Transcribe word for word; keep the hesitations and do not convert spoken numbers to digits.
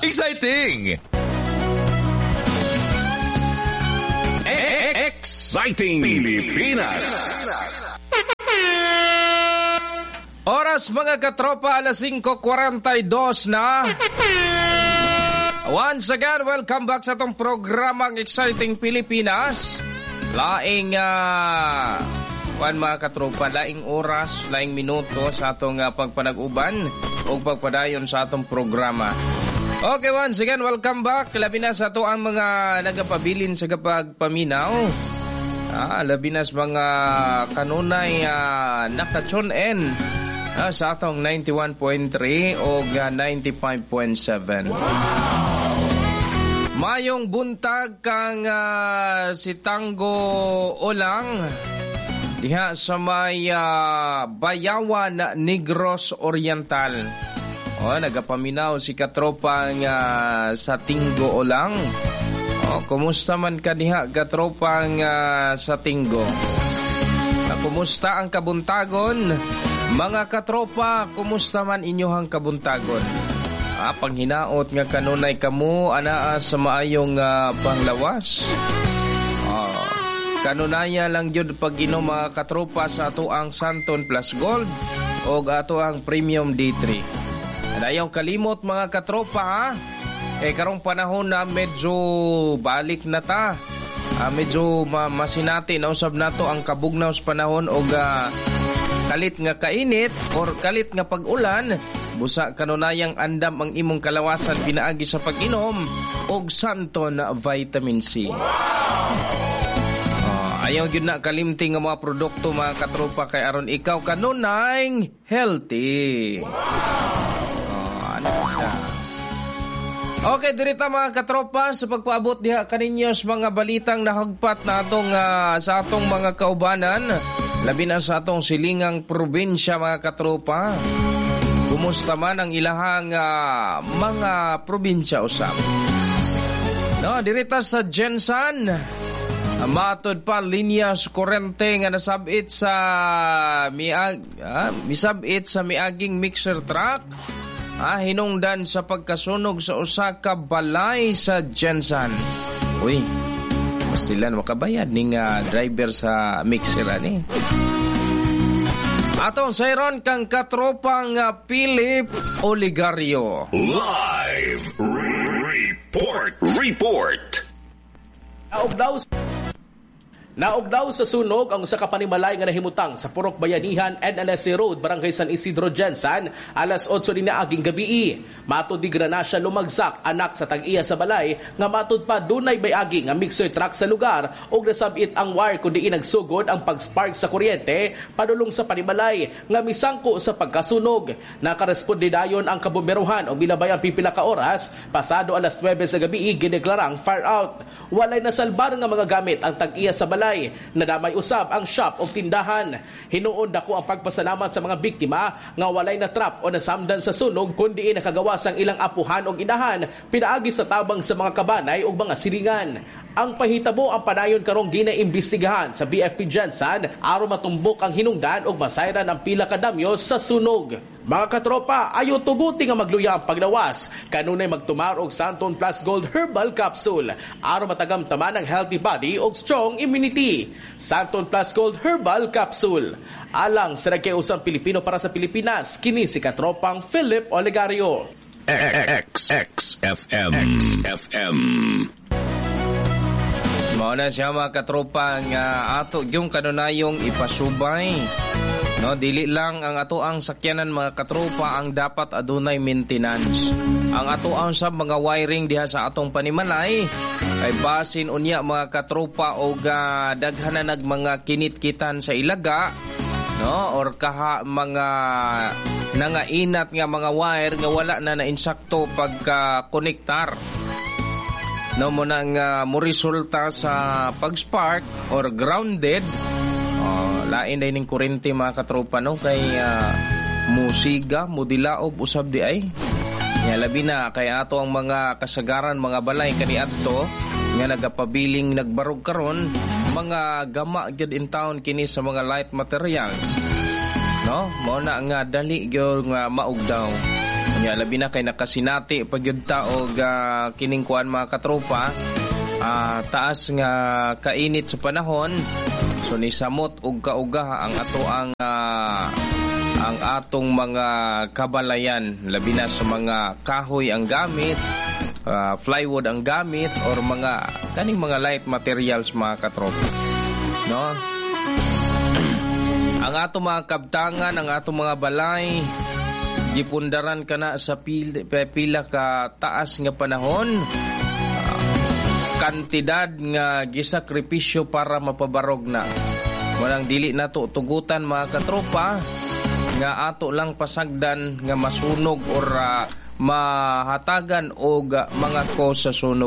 Exciting! Exciting Pilipinas! Oras mga katropa, alas singko kwarenta y dos na. Once again, welcome back sa atong programang Exciting Pilipinas. Laing uh, kuan mga katropa, laing oras, laing minuto sa atong uh, pagpanag-uban o pagpadayon sa atong programa. Okay, once again, welcome back. Labi na sa ato ang mga nagapabilin sa kapagpaminaw. Ah, labi na sa mga kanunay uh, naka-tune in ah, sa atong ninety-one point three o uh, ninety-five point seven. Wow! Mayong buntag kang uh, si Tango Olang diha sa may uh, Bayawan, Negros Oriental. Oh, nagapaminaw si katropang uh, sa Tinggo Olang. Oh, kumusta man ka diha, katropang uh, sa Tinggo? Uh, kumusta ang kabuntagon? Mga katropa, kumusta man inyohang kabuntagon? Ah, panghinaot nga kanunay kamo anaa sa maayong uh, panglawas. Oh, kanunaya lang gyud pag-inom mga katropa sa ato ang Santon Plus Gold o ato ang Premium D three. Ayaw kalimot mga katropa ha. Eh karong panahon na medyo balik na ta. Ah, medyo ma masinati na usab nato ang kabugnaw sa panahon og uh, kalit nga kainit or kalit nga pag-ulan. Busa kanunayang andam ang imong kalawasan pinaagi sa pag-inom og Santon Vitamin C. Wow! Oh, ayaw gyud na kalimti nga mga produkto mga katropa kay aron ikaw kanunay healthy. Wow! Oh, ano siya? Okay, dirita mga katropa sa pagpaabot diha kaninyo sa mga balitang nahagpat na atong uh, sa atong mga kaubanan, labi na sa atong silingang probinsya mga katropa. Kumusta man ang ilahang uh, mga probinsya usab? No, dirita sa GenSan, matod pa linya sa kurente nga nasabit sa miag ah, misabit sa miaging mixer truck ah, hinungdan sa pagkasunog sa usa ka balay sa GenSan. Uy, pastilan makabayad ning uh, driver sa mixer ani. Atong sayron kang katropang uh, Philip Oligario. Live Report Report. Naog daw Naog daw sa sunog ang usa ka panimalay nga nahimutang sa Purok Bayanihan, N L S C Road, Barangay San Isidro, GenSan, alas otso ni naaging gabi. Matod di granasya lumagsak anak sa tag-iya sa balay nga matod pa dunay bayagi nga mixer truck sa lugar ug nasabit ang wire kun diin nagsugod ang pag-spark sa kuryente padulong sa panimalay nga misangko sa pagkasunog. Nakaresponde dayon ang kabomberohan og milabay ang pipila ka oras, pasado alas nuwebe sa gabi gideklarang fire out. Walay nasalbar nga mga gamit ang tag-iya sa balay. Nadamay usab ang shop o tindahan. Hinuon dako ang pagpasalamat sa mga biktima nga walay na trap o nasamdan sa sunog kundi nakagawas ang ilang apuhan o inahan pinaagi sa tabang sa mga kabanay o mga silingan. Ang pahitabo ang padayon karong ginaimbestigahan sa B F P GenSan aron matumbok ang hinungdan ug masayran ang pila ka damyo sa sunog. Mga katropa, ayo tuguti nga magluya ang paglawas. Kanunay magtumar og Santon Plus Gold Herbal Capsule aron matagamtaman ang healthy body ug strong immunity. Santon Plus Gold Herbal Capsule. Alang sa nagkiusang Pilipino para sa Pilipinas, kini si katropang Philip Olegario. X X F M X F M. Mao na siya mga katropa nga ato yung kanunayong ipasubay. No, dili lang ang ato ang sakyanan mga katropa ang dapat adunay maintenance. Ang ato ang sa mga wiring diha sa atong panimalay kay basin unya mga katropa og uh, daghan na nag mga kinitkitan sa ilaga, no, or kaha mga nangainat nga mga wire nga wala na na-insakto pagka konektar, no, mo nang uh, mo resulta sa pag-spark or grounded. Oh, lain day ning kuryente mga katropa, no, kay uh, musiga mudilaob usab di ay. Ya, labi na kay ato ang mga kasagaran mga balay kaniadto nga nagapabiling nagbarog karon, mga gama gyud in town kini sa mga light materials, no, mao na nga dali gyud nga maugdaw. Nya labi na kay nakasinati pa gyud ta og uh, kining kuan, mga katropa, uh, taas nga kainit sa panahon. So nisamot og kauga ang ato ang uh, ang atong mga kabalayan, labi na sa mga kahoy ang gamit, uh, plywood ang gamit or mga kaning mga light materials, mga katropa, no? Ang ato mga kabtangan, ang ato mga balay, gipundaran kana sa pila, pila ka taas nga panahon, uh, kantidad nga gisakripisyo para mapabarog na. Walang dili nato tugutan, mga katropa, nga ato lang pasagdan nga masunog or uh, mahatagan og mga cause sa sunog.